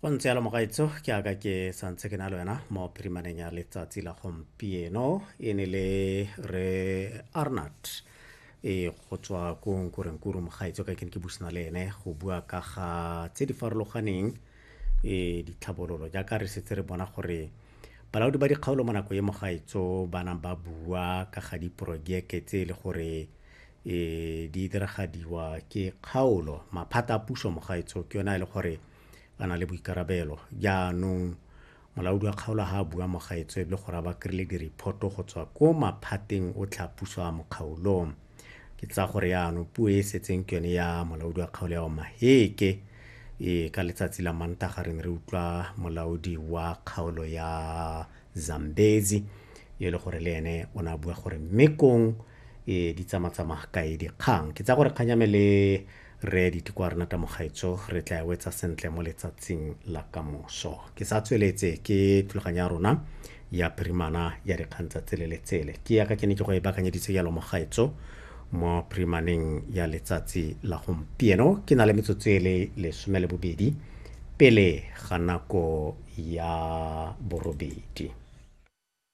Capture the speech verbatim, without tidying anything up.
Go ntse jalo mogaetsho, ke aka ke santse ke na le wena mo phirimaneng ya letsatsi la gompieno. E ne le re Arnard e go tswa ko Nkurenkuru mogaetsho, ka ke ne ke busana le ene go bua ka ga tse di farologaneng e ditlhabololo, jaaka re setse re bona gore balaodi ba dikgaolo mo nako e mogaetsho ba nang ba bua ka ga diporojeke tse e le gore e di diragadiwa ke kgaolo. Maphata a puso mogaetsho ke yone a e le gore a na le boikarabelo. Jaanong molaodi wa kgaolo ha a bua mogaetsho e le gore a ba kry-ile di-report-o go tswa ko maphateng otlhe a puso a mo kgaolong. Ke tsaya gore yaanong puo e e setseng ke yone ya molaodi wa kgaolo ya Omaheke. E ka letsatsi la Mantaga re ne re utlwa molaodi wa kgaolo ya Zambezi e le gore le ene o ne a bua gore mme kong e di tsamatsamaya kae dikgang. Ke tsaya gore kgang ya me le re Diteko Arnata mogaetsho re tla e wetsa sentle mo letsatsing la kamoso. Ke sa tsweletse ke thulaganyo ya rona ya phirimana ya dikgang tsa tsele le tsele, ke yaka ke ne ke go e baakanyeditse jalo mogaetsho mo phirimaneng ya letsatsi la gompieno. Ke na le metsotso e le lesome le bobedi pele ga nako ya borobedi.